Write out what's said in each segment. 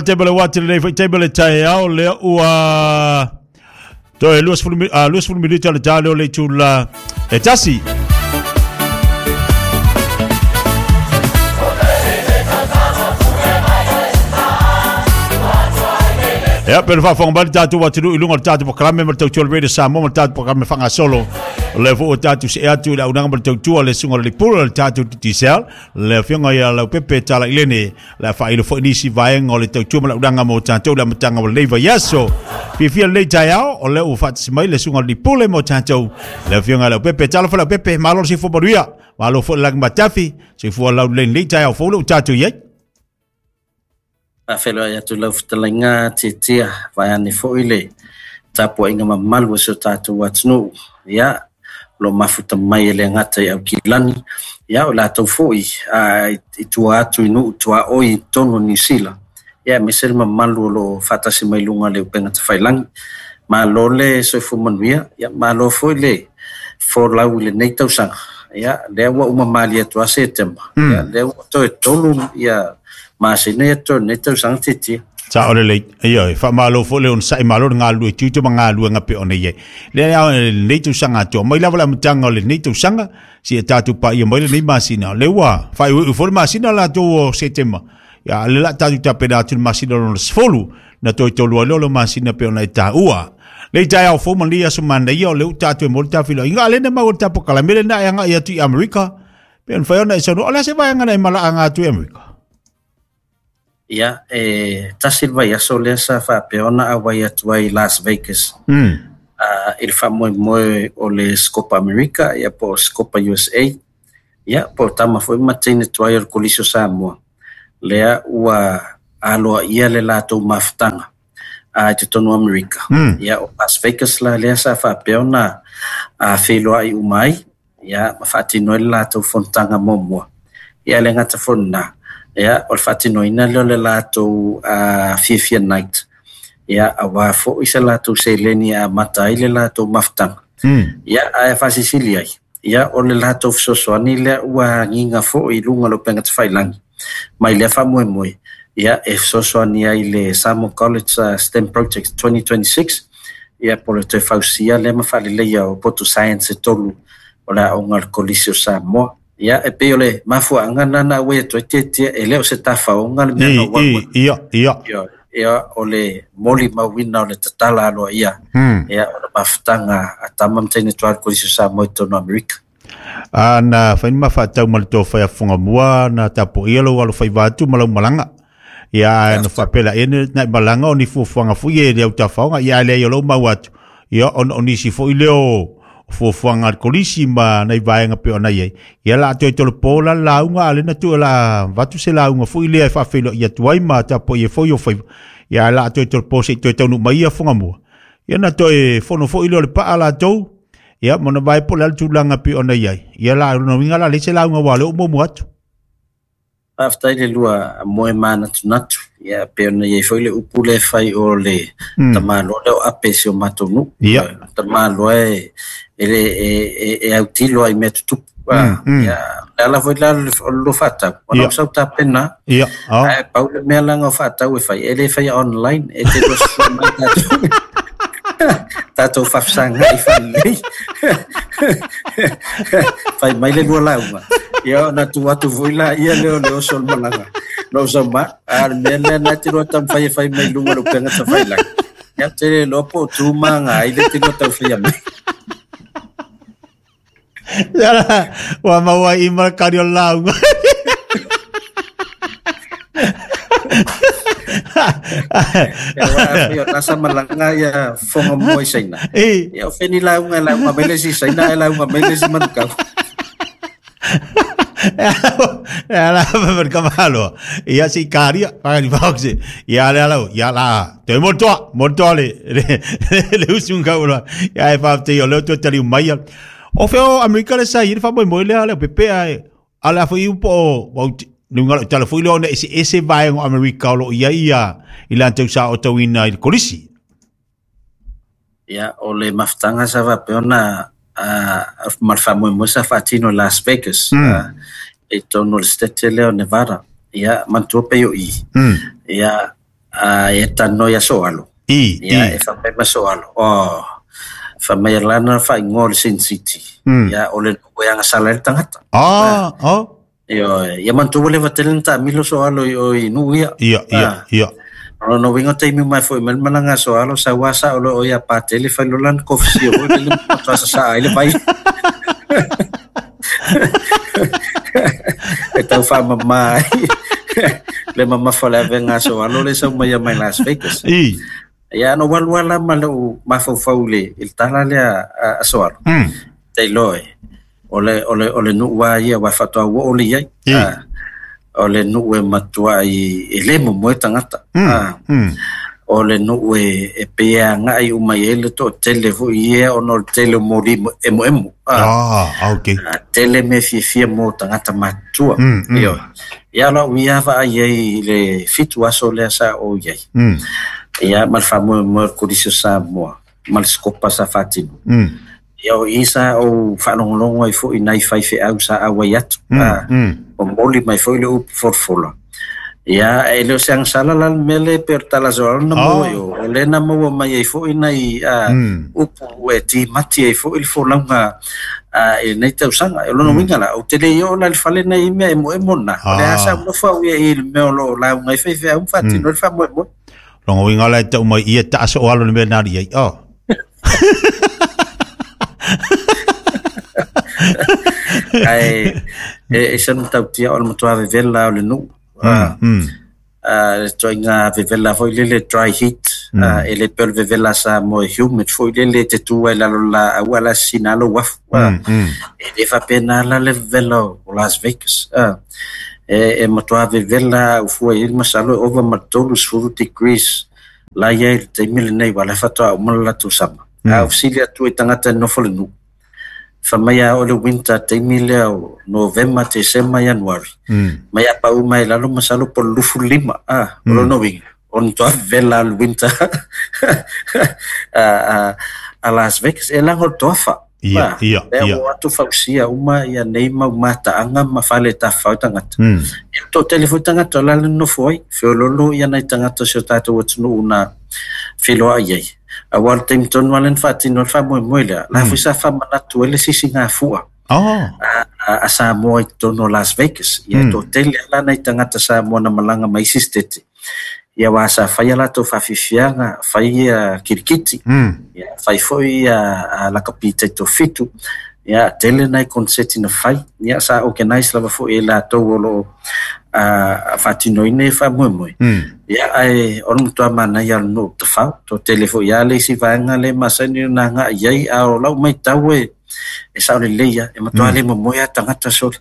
Taimi o le uati lenei foi taimi o le taeao lea ua toe 20 minute o le ta lea o le itula e tasi. Ia, pe faafofoga mai le tatou atunuu i luga o le tatou polokalame ma le tautua o le Radio Samoa ma le tatou polokalame faagasolo. O lea foi ua tatou see atu i le auaunaga ma le tautua a le susuga i le Pule o le tatou Digicel, le afioga ia Leaupepe Talailene. Le a faailo foi nisi vaega o le tautua ma le auaunaga mo tatou i le amataga o lenei vaiaso. Fiafia lenei taeao, o lea ua faatasi mai le susuga i le Pule mo tatou, le afioga ia Leaupepe. Talofa Leaupepe, malo le soifua manuia, malo foi le lagi matafi, soifua laulelei i lenei taeao fou lea ua tatou i ai. Faafeiloai atu i lau fetalaiga Tietia, vaeane foi le tapuaiga mamalu a si o tatou atunuu. Ia, o lo o mafuta mai e le gata i Aukilani, ia o latou foi i tua atu i nuu tuaoi i totonu o Niu Sila, ia aemaise le mamalu o lo o faatasi mai luga o le upega tafailagi. Malo le soifua manuia, ia malo foi le folau i lenei tausaga. Ia, lea ua uma malie atu lava Setema, ia lea ua toe 3 ia masina ia totoe o lenei tausaga Tietia. Sao lelei. Ioe, faamalo foi le onosai, malo le galulue tiute ma galuega pei ona i ai. Lea lava lenei tausaga atoa, mai lava le amataga o lenei tausaga, seia tatou paia mai lenei masina. O lea ua faaiuiu foi le masina latou o Setema. Ia, o lea o le a tatou tapena atu i le masina lona 10, na toe tolu ai lea o le masina pei ona e taua. Lei taeao fou ma lenei aso manaia, o lea ua tatou e momoli tafilauiga, a o lea na maua i le tapokalame lena e agai atu i Amerika, pei ona fai ona e saunoa, o le a se vaega na e malaaga atu i Amerika? Ia, e tasi le vaiaso lea sa faapea ona auai atu ai i Las Vegas i le faamoemoe o le Copa America ia po o Copa USA, ia po o tama foi ma teine tuai o le Kolisi o Samoa, lea ua aloaia le latou mafutaga i totonu o Amerika. Ia, o Las Vegas la lea sa faapea ona feiloai uma ai, ia ma faatino ai le latou fonotaga muamua. Ia e le gata foi i lena, ia o le faatinoina lea o le latou Fiafia Night, ia aua foi se latou seleni e amata ai le latou mafutaga. Ia ae faasilisili ai, ia o le latou fesoasoani lea ua agiga foi i luga o le upega tafailagi mai lea faamoemoe, ia e fesoasoani ai i le Samoa College STEM Project 2026, ia po o le toe fausia lea ma faaleleia o potu science e 3 o le aoga a le Kolisi o Samoa. Ia e pei o le mafuaaga lena na auai atu ai Tietia, e le o se tafaoga le mea na ou alu ai. Ia. Ia, o le molimauina o le tatala aloaia, ia, o le mafutaga a tama ma teine tuai o le Kolisi o Samoa i totonu o Amerika. A na fai ni ma faatau ma le tofa ia Fofogamua na tapuaia lou alofaiva atu ma lau malaga. Ia ae na faapea laia na i malaga o ni fuafuaga foi e le autafaoga. Ia ae leai o lou mau atu, ia ona o nisi foi lea o fuafuaga a le Kolisi ma nai vaega pei ona i ai. Ia la toe tolopo la le lauga a o lea na tuu o le a avatu se lauga foi lea e faafeiloai atu ai ma tapuaia foi o faiva. Ia ae la toe tolopo se i toe taunuu mai ia Fogamua. Ia na toe fono foi lea o le paa latou. Ia, ma ona vaai po o le a le tulaga e pei ona i ai. Ia la, o lona uiga la, leai se lauga aua o lea ua muamua atu. Faafetai le lua moe manatunatu. Ia, pei ona i ai foi le upu lea e fai o le tamaloa lea o ape i si o matou nuu. Tamaloa e, e, e, e, e autilo ai mea tutupu. Ia, le ala foi la o le lua faatau, ona o sau tapena. Ae pau le mea laga o faatau e fai, e le faia online, e te lua susue mai tatou. Tatou faafesagai faalelei. Fai mai le lua lauga. Ia ona tuu atu foi laia lea o le oso o le malaga. Na ou sau ma, a o le mea lea na te lua taumafai e fai mai i luga o le upega tafailagi. Ia ou te le iloa po o tu ma aga ai le te lua tau faia mai. Ia la, ua maua ai i ma le kari o le lauga. Ia aua a fai o nasa malaga ia fonga mua i Saina. Ia o feni lauga e lauga mai le isi Saina ae lauga mai le isi Manukau. E ala ma ka malo. Ia si karia, pa ni boxe. Ia le ala, ia la. Te mo toa, mo toa le le usunga ula. Ia e fa te o le to tali mai. O feo Amerika le sa i fa mo mo le ale pepe ai. Ala foi po o le tala foi le ona ese ese vaega o Amerika o lo o i ai ia i latou sa otauina i le kolisi. Ia, o le mafutaga sa faapea ona ma le faamoemoe sa faatino i Las Vegas i totonu o le state lea o Nevada. Ia, manatua pei o i. Ia, E talanoa ia Soalo. Ia, e faapea mai Soalo, oh, fai mai lana faaigoa o le Sin City. Ia, o le nuu e agasala ai le tagata. Ioe, ia manatua ua leva tele na taamilo Soalo i o i nuu ia. Ia, ia, ia. O lona uiga o taimi uma e foi mai le malaga a Soalo, sau lava sao loa o ia Patele fai loa lana kofisia foi lele ma matua sasaa ai le vai. E tau faamama ai le mamafa o le avega a Soalo le sau mai ia mai Las Vegas. Ia, na ou alu lava la ma lou mafaufau i le tala lea a Soalo. Te iloa e, o le, o le, o le nuu lava ia aua faatoa ua oo lea i ai. O le nuu e matuai e le momoe tagata. O le nuu e pei e agai uma i ai le toatele foi ia ona o le tele o moli emoemo. Okay. Tele mea fiafia mo tagata matutua. Ioe. Ia o lau ia vaai ai i le 7 aso lea sa ou i ai. Ia ma le faamoemoe o le Kolisi o Samoa ma le Sikopa sa faatino. Ia o i sa ou faalogologo ai foi i nai faifeau sa auai atu. Momoli mai foi le upu folafola. Ia, e le o se agasala la le mea lea e pei o le tala soalo na maua i o, o lea na maua mai ai foi nai upu e timati ai foi le folauga i lenei tausaga. O lona uiga la, ou te le i oo la i le fale na i ai mea emoemo na, o lea lava sa ou nofo au ia i le mea o lo o lauga ai faifeau ma faatino ai le faamoemoe. Lona uiga la e tau mai ia taa soalo le mea na ali ai. Oh. Ae e se matautia o le matua vevela o le nuu. Le ituaiga vevela foi lele dry heat, e le pei o le vevela Samoa e humid foi lele e te tu ai i lalo o le laau a o la e sisina lava lou afu. E le faapena la le vevela o Las Vegas. E matua vevela au fua i ai le masalo e ova ma le 30 degrees la i ai i le taimi lenei aua o la e faatoa uma le latou sama. A ou fesili atu i tagata e nofo i le nuu, fai mai a oo i le winter taimi lea o Novema, Tesema, Ianuari, mai a pau mai lalo masalo po o le 25, o lona uiga, o le matua vevela le winter a Las Vegas. E laga o le toafa. Ia, ia, ia. Lea ua o atu fausia uma ia nei mau mataaga ma fale e tafafao ai tagata. Ia, toatele foi tagata o la le nonofo ai, feoloolo ia nai tagata o si o tatou atunuu na feiloai ai. Aua o le taimi tonu lava lea na faatino ai le faamoemoe lea, la foi sa faamanatu ai le sisigafua a Samoa i totonu o Las Vegas. Ia, e toatele lava la nai tagata Samoa na malaga mai isi setete. Ia aua sa fai a latou faafiafiaga, fai ia kirikiti, ia fai foi ia lakapi taitofitu, ia tele nai konseti na fai, ia sa organize lava foi e latou o lo o faatinoina ia faamoemoe. Ia ae o le matua manaia o le nuu o Tafao, toatele foi lava le isi vaega lea e masani ona agai i ai, a o lau matau e e sao lelei lava, e matua le momoe lava tagata sole.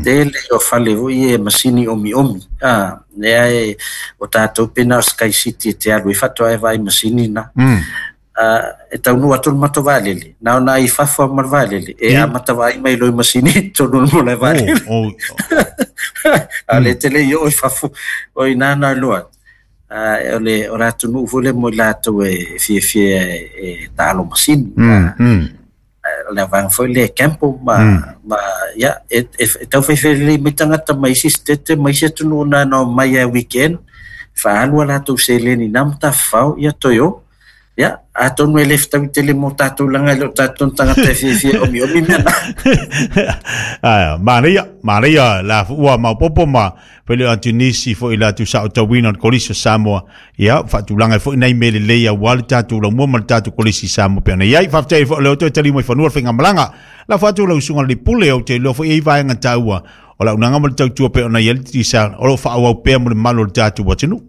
Tele o fale foi ia e masini omiomi, lea e o tatou pe na o Sky City e te alu ai faatoa e vaai masini na. E taunuu atu le matou vaalele, na ona ai i fafo lava ma le vaalele, e amata vaai mai loa i masini i totonu o le malae vaalele. A o lea e te le i oo i fafo, o i ina na iloa ai. O le o le atunuu foi lea mo i latou e fiafia e taalo masini. O le vaega foi lea e gamble ma, ma ia, e taufaifai lelei mai tagata mai isi setete ma isi atunuu na ona omai lava weekend, faaalu a latou seleni i na matafafao, ia toe o. Ia, atonu e le fetaui tele mo tatou leaga e le o tatou ni tagata e fiafia e omiomi mea na. Ae, manaia, manaia la ua maopoopo ma fai le atu nisi foi la tu saotauina o le Kolisi o Samoa. Ia, faatulaga ai foi nai mea lelei aua le tatou laumua ma le tatou Kolisi Samoa pei ona i ai. Faafetai ai foi o lea ua toe taliu mai fanua le faigamalaga. Lafo atu lau susuga i le Pule, ou te iloa foi e i ai vaega taua o le auaunaga ma le tautua pei ona i ai le Digicel o lo o faaauau pea mo le mamalu o le tatou atunuu.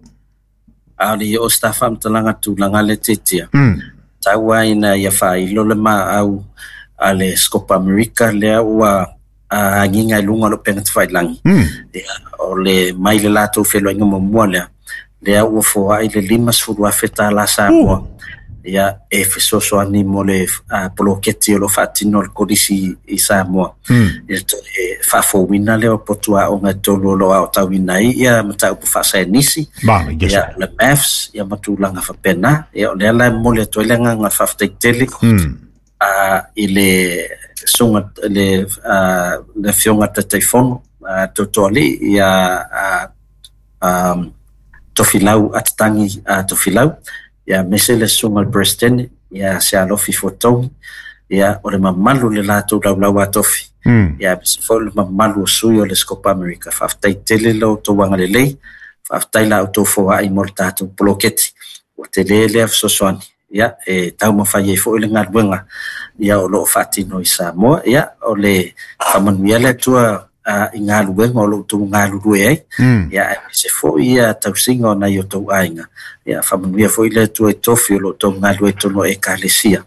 A o le i oo se ta faamatalaga tulaga lea tiatia, tau lava ina ia faailo le maau a le Scopa America lea ua agiga i luga o le upega tafailagi. Ia, o le mai le latou feiloaiga muamua lea, lea ua foai le $50,000 Samoa ia e fesoasoani mo le poloketi o lo o faatino e le Kolisi i Samoa. I le toe faafouina lea o potu aoga e tolu o lo o aotauina ai ia mataupu faasaienisi, ia le maths, ia ma tulaga faapena. Ia o lea la e momoli atu ai le agaga faafetai tele i le susuga i le Afioga i le Taitaifono Tootooalii ia Tofilau Atatangi Tofilau, ia aemaise le susuga i le Peresetene ia Sealofi Fuatogi, ia o le mamalu o le latou laulau a tofi, ia aemaise foi le mamalu o sui o le Scopa America. Faafetai tele lo outou agalelei, faafetai la outou foai mo le tatou poloketi. Ua tele lea fesoasoani, ia e taumafai ai foi le galuega ia o lo o faatino i Samoa. Ia o le faamanuia le Atua i galuega o lo o outou galulue ai, ia aemaise foi ia tausiga o nai o outou aiga. Ia faamanuia foi le Atua i tofi o lo o outou galulue i totonu o Ekalesia,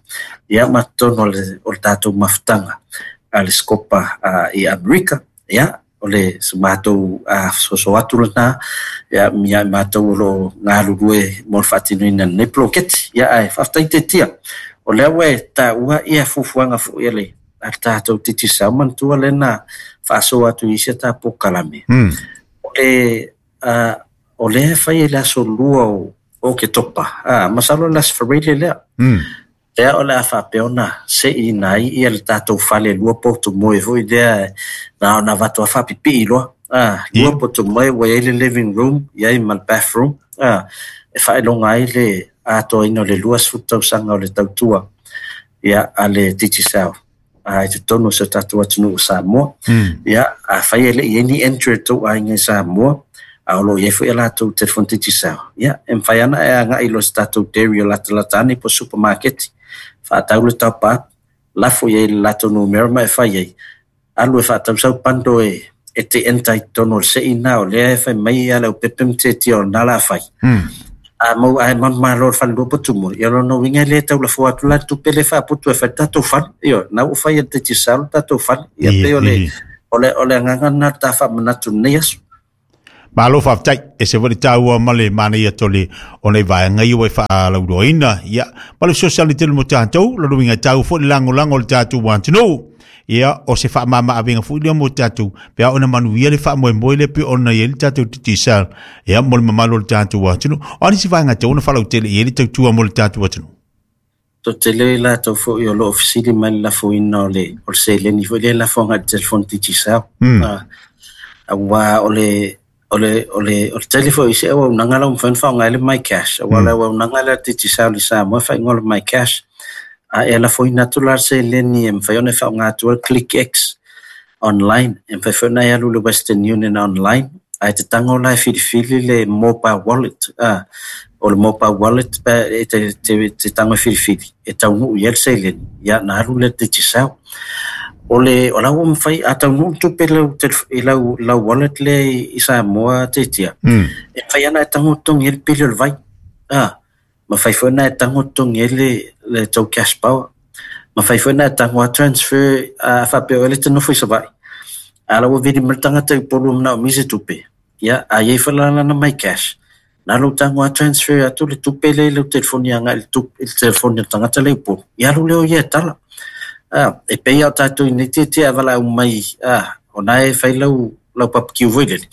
ia ma totonu o le tatou mafutaga a le Scopa i Amerika. Ia o le se matou fesoasoa atu lena ia ia matou o lo o galulue mo le faatinoina o lenei poloketi. Ia ae faafetai Tetia, o lea ua e taua ia fuafuaga foi a le tatou Digicel, manatua lea na faasoa atu i isi a ta polokalame. O lea e fai i le aso 2 o Oketopa, masalo le aso Faraile lea. Lea o le a faapea ona seiina ai ia le tatou fale lua potu moe foi lea na ona avatu a faapipii loa. Lua potu moe ua i ai le living room, i ai ma le bathroom, e faailoga ai le atoaina o le 20 tausaga o le tautua ia a le Digicel i totonu o si o tatou atunuu o Samoa. Ia, afai e le i ai ni entry o tou aiga i Samoa, a o lo o i ai foi a latou telefoni Digicel, ia, e mafai lava ona e agai loa i se tatou dairy o latalata ane po o supermarket, faatau le top up, lafo i ai le latou numera ma e fai ai, alu e faatau sau bundle e te enter i totonu o le sei na, o lea e fai mai ia le aupepe ma Tetia o lena la fai. A mau ae manumalo le falelua potu moe, ia lona uiga e le tau lafoa atu la le tupe lea e faaputu e fai le tatou fale. Ioe, na ua fai e le Digicel le tatou fale. Ia pei o le, o le agaga lena o le ta faamanatu i lenei aso. Malo faafetai, ese foi le taua ma le manaia tole o nei vaega ia ua e faalauiloaina. Ia, ma le fesoasoani tele mo tatou, lona uiga e taua foi le lagolago o le tatou atunuu. Ia, o se faamama-avega foi lea mo tatou, pe a ona manuia le faamoemoe lea pei ona i ai le tatou Digicel, ia, mo le mamalu o le tatou atunuu. O a nisi vaega e tatau ona faalautele i ai le tautua mo le tatou atunuu? Toatele i latou foi o lo o fesili mai le lafoina o le o le seleni foi lea e lafo agai i le telefoni Digicel. Aua o le o le o le o le tele foi o isi auaunaga la ua mafai ona faaaoga ai le MyCash, aua o le auaunaga lea a le Digicel i Samoa e faaigoa o le MyCash. A e lafoina atu la le seleni e mafai ona e faaaoga atu ai le ClickX online, e mafai foi ona e alu i le Western Union online, ae te tago la e filifili le mobile wallet, o le mobile wallet pe e te tago e filifili e taunuu i ai le seleni, ia ona alu lea i le Digicel. O le o la ua mafai a taunuu le tupe i lau lau wallet lea i Samoa Tetia, e mafai lava ona e tago totogi ai le pili o le vai. Mafai foi ona e tago totogi ai le tou cash power. Mafai foi ona e tago a transfer a faapea oe lea e te nofo i Savaii, a la ua vili mai le tagata i Upolu e manaomia se tupe, ia a i ai foi la lana MyCash, na lou tago a transfer atu le tupe lea i lau telefoni agai i le tupe i le telefoni o le tagata lea i Upolu, ia alu lea o ia e tala. E pei lava o tatou i nei tietie a valaau mai, o na e fai lau lau barbecue foi lele,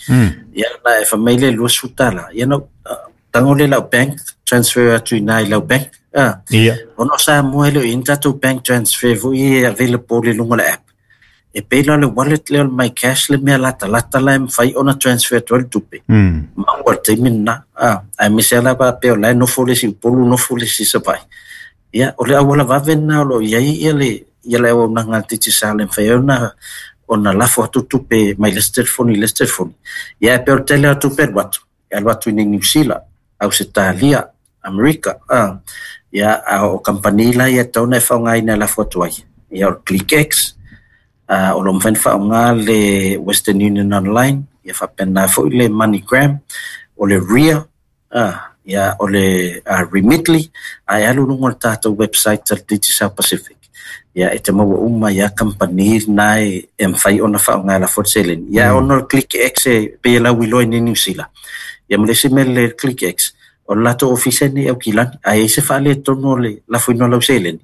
ia na e fai mai lea e $20, ia na tago lea i lau bank, transfer atu i ina i lau bank. Ona o Samoa e le o i ai ni tatou bank transfer foi e available i luga o le app. E pei la o le wallet lea o le MyCash le mea latalata la e mafai ona transfer atu ai le tupe. Maua i le taimi lena. Aemaise lava faapea o la e nofo le isi i Upolu, nofo le isi i Savaii. Ia, o le auala vave lena o lo o i ai ia le ia le auaunaga a le Digicel e mafai ai ona lafo atu tupe mai le isi telefoni i le isi telefoni. Ia, e pei o le tele lava o tupe e alu atu, e alu atu i Niu Sila, Ausetalia, Amerika, ia, a o kamupani la ia e tatau ona e faaaogaina e lafo atu ai, ia o le ClickX, o lo o mafai ona faaaoga le Western Union Online, ia faapena foi le MoneyGram, o le Ria, ia o le Remitly, ae alu i luga o le tatou website a le Digicel Pacific, ia e te maua uma ai lava kamupani na e mafai ona faaaoga e lafo le seleni. Ia ona o le ClickX e pei e lauiloa i Niu Sila, ia ma le isi mea lelei i le ClickX, o le latou ofisa nei i Aukilani, a i ai se faaletonu o le lafoina o lau seleni,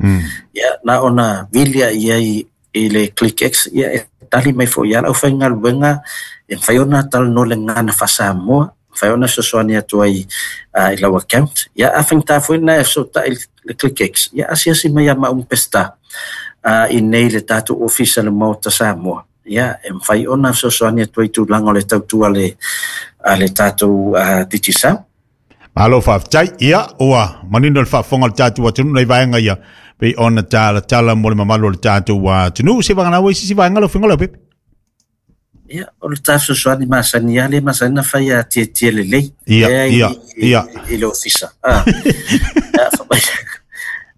ia na ona vili lava i ai i le ClickX, ia e tali mai foi lava le aufaigaluega e mafai ona talanoa i le gagana faa-Samoa, mafai ona fesoasoani atu ai i lau account. Ia a faigata foi ona e fesootai i le ClickX, ia asiasi mai ia maua ma Peseta i nei i le tatou ofisa i le Maota Samoa. Ia e mafai ona fesoasoani atu ai i tulaga o le tautua a le tatou Digicel. Malo faafetai. Ia, ua manino le faafofoga o le tatou atunuu nai vaega ia pei ona talatala mo le mamalu o le tatou atunuu. Se vagana ua isi vaega lau Afioga Leaupepe. Ia, o le ta fesoasoani masani lava lea e masani ona fai a tietie lelei. Ia, ia, ia. I le ofisa. Ah.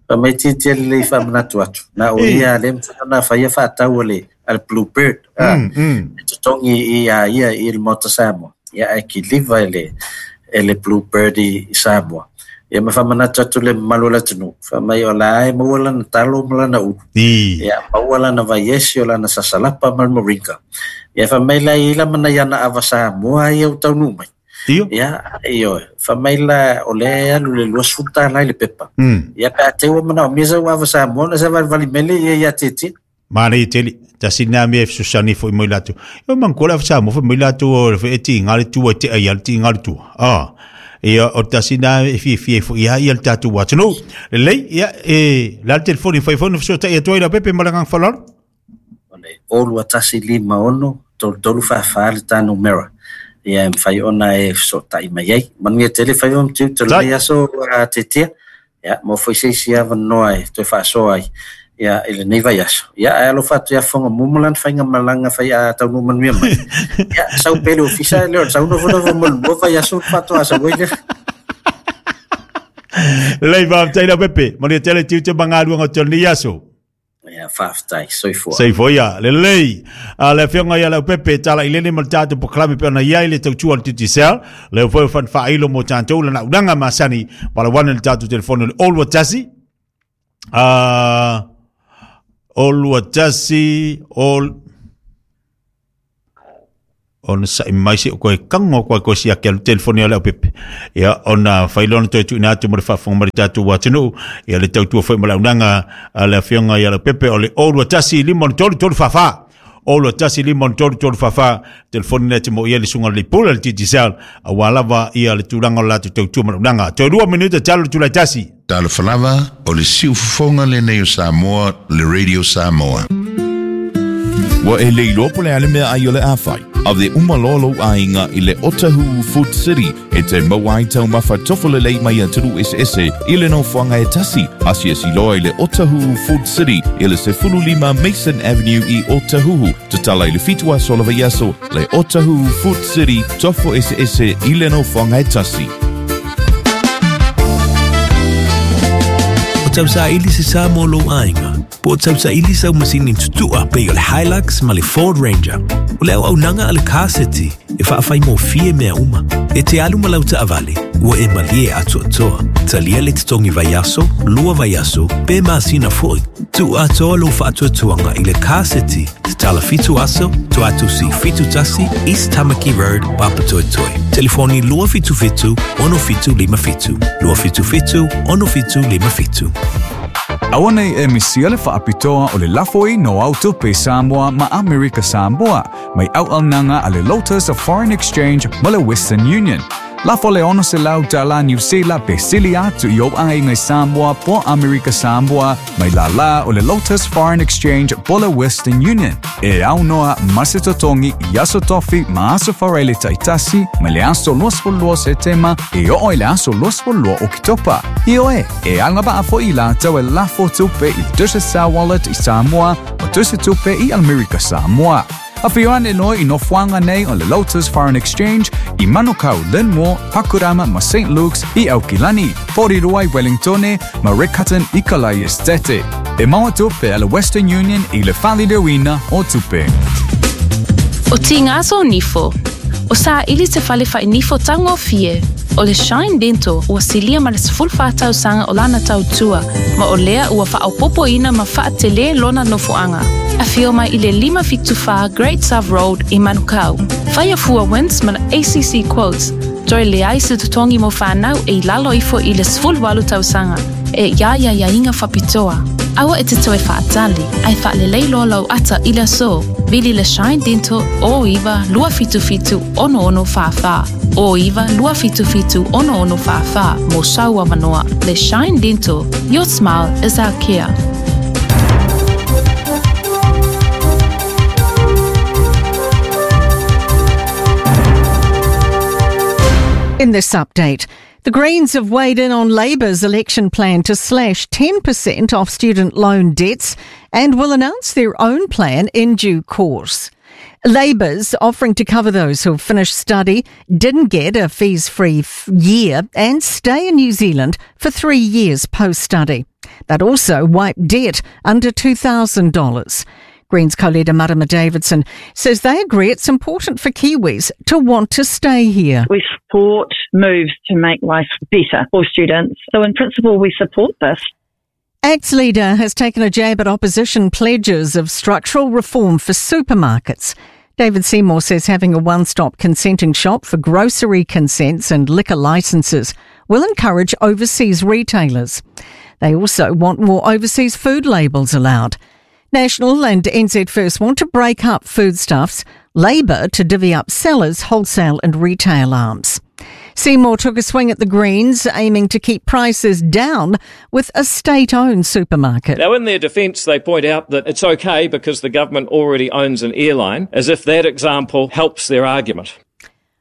Fai mai tietie lelei faamanatu atu. Na o ia lea mafai ona faia faatau a le a le Bluebird. Ah, E totogi i a ia i le Maota Samoa. Ia, ae kiliva e le, e le Bluebird i, i Samoa. Ia ma faamanatu atu le mamalu o le atunuu. Fai mai o la e maua lana talo ma lana ulu. Ia, maua lana vaiesi o lana sasalapa ma le moringa. Ia, fai mai la i la mana i ana ava Samoa ia ua taunuu mai. Io. Ia, ioe. Fai mai la o lea e alu le 20 tala i le pepa. Ia, pe a te ua manaomia sau ava Samoa ona savalivali mai lea ia ia Tietie. Manaia tele, tasi lena mea e fesoasoani foi mai latou. Ia manatua le Samoa fai mai latou o le e tiga le tua e tea ia le tiga le tua. Ah. Ia o tasi lena e fiafia ai foi ia ia le tatou atunuu. Lelei, ia e le a le telefoni e fai foi ona fesootai atu ai Leaupepe ma le agaga faaaloalo. O le 02156 3344 le ta numera. Ia e mafai ona e fesootai mai ai. Manuia tele faiva ma tiute o lenei aso Tietie. Ia, maua foi se isi avanoa e toe faasoa ai ia, i lenei vaiaso. Ia, ae alofa atu ia Fogamua ma lana faigamalaga fai a taunuu manuia mai. Ia, sau pea i le ofisa, le o le sau nofonofo mo le lua vaiaso ona faatoa sau ai lea. Lelei, faafetai Leaupepe. Manuia tele tiute ma galuega o te o lenei aso. Ia, faafetai, soifua. Soifua ia, lelei. A le afioga ia Leaupepe, tala i lele ma le tatou polokalame pe ona i ai le tautua a le Digicel. Lea foi o fana faailo mo tatou lana ulaga masani. Valawana le tatou telefoni o le 021 021 ol ona sa'i mai se koe kango koe koe siaki alu telefoni a Leaupepe. Ia, ona fai loa ona toe tuuina atu mo le faafofoga mai le tatou atunuu. Ia, le tautua foi ma le auaunaga a le afioga ia Leaupepe o le 021 503 344. 021 503 344 telefoni lea te mo i ai le susuga i le Pule le Digicel aua lava ia le tulaga o le latou tautua ma le auaunaga. Toe 2 minute talu le tulai tasi. Talofa lava, o le siufofoga lenei o Samoa, le Radio Samoa. Ua e le iloa po o le a le meaai o le a fai? Ave uma loa lou aiga i le Otahuhu Food City e te maua ai taumafa tofo lelei mai atunuu eseese i le nofoaga e tasi. Asiasi loa i le Otahuhu Food City i le 15 Mason Avenue i Otahuhu. Tatala i le 7 aso o le vaiaso, le Otahuhu Food City, tofo eseese i le nofoaga e tasi. O tausaili se sa mo lou aiga, po o tausaili sau masini tutua pei o le Hilux ma le Ford Ranger. O le auaunaga a le Car City e faafaigofie mea uma. E te alu ma lau taavale, ua e malie atoatoa. Talia le totogi vaiaso, lua vaiaso, pe masina foi. Tuu atoa lou faatuatuaga i le Car City, tatala 7 aso, Tuatusi 71, East Tamaki Road, Papatoetoe. Telefoni 277 6757, 277 6757. Aua nei e misia le faapitoa o le lafo i no au tupe Samoa ma Amerika Samoa mai auaunaga a le Lotus of Foreign Exchange ma le Western Union. Lafo le 600 tala Niu Sila pe sili atu i ou aiga i Samoa po Amerika Samoa mai lālā o le Lotus Foreign Exchange po le Western Union. E aunoa ma se totogi i aso tofi ma aso faraile taitasi mai le aso 22 Setema e oo i le aso 22 Oketopa. Ioe, e agavaa foi i latou e lafo tupe i Digicel Wallet i Samoa ma tusi tupe i Amerika Samoa. Afio ane loa i nofoaga nei o le Lotus Foreign Exchange i Manukau, Linmore, Pakurama ma St Luke's i Aukilani, Porirua i Wellingtone ma Riccarton i Kalai Estate. E maua tupe a le Western Union i le faaliliuina o tupe. O Tigaso Nifo. O saili te fale fainifo taugofie. O le Shine Dental ua silia ma le 14 tausaga o lana tautua, ma o lea ua faaopoopoina ma faatelē lona nofoaga. Afio mai i le 574 Great South Road i Manukau. Faia fua WINZ ma le ACC Quotes, toe leai se totogi mo fanau e i lalo ifo i le 18 tausaga, e ia ia iaiga faapitoa. Aua e te toe faatali, ae faalelei loa lou ata i le aso. Vili le Shine Dental 09 277 6644, 09 277 6644 mo sau avanoa. Le Shine Dental, your smile is our care. In this update, The Greens have weighed in on Labour's election plan to slash 10% off student loan debts and will announce their own plan in due course. Labour's offering to cover those who have finished study, didn't get a fees-free year and stay in New Zealand for 3 years post-study. That also wiped debt under $2,000. Greens co-leader Marama Davidson says they agree it's important for Kiwis to want to stay here. We support moves to make life better for students. So in principle, we support this. ACT's leader has taken a jab at opposition pledges of structural reform for supermarkets. David Seymour says having a one-stop consenting shop for grocery consents and liquor licences will encourage overseas retailers. They also want more overseas food labels allowed. National and NZ First want to break up foodstuffs, Labour to divvy up sellers, wholesale and retail arms. Seymour took a swing at the Greens, aiming to keep prices down with a state-owned supermarket. Now, in their defence, they point out that it's okay because the government already owns an airline, as if that example helps their argument.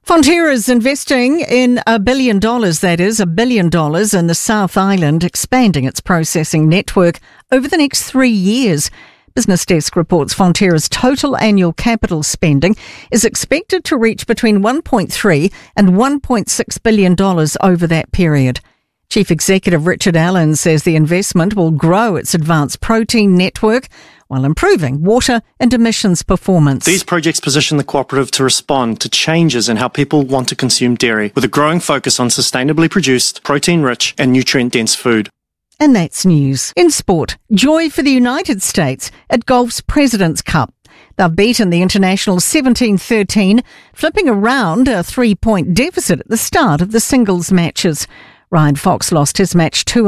Fonterra's investing in $1 billion, that is, $1 billion in the South Island, expanding its processing network over the next 3 years. Business Desk reports Fonterra's total annual capital spending is expected to reach between $1.3 and $1.6 billion over that period. Chief Executive Richard Allen says the investment will grow its advanced protein network while improving water and emissions performance. These projects position the cooperative to respond to changes in how people want to consume dairy, with a growing focus on sustainably produced, protein-rich and nutrient-dense food. And that's news. In sport, joy for the United States at golf's President's Cup. They've beaten the International 17-13, flipping around a 3-point deficit at the start of the singles matches. Ryan Fox lost his match 2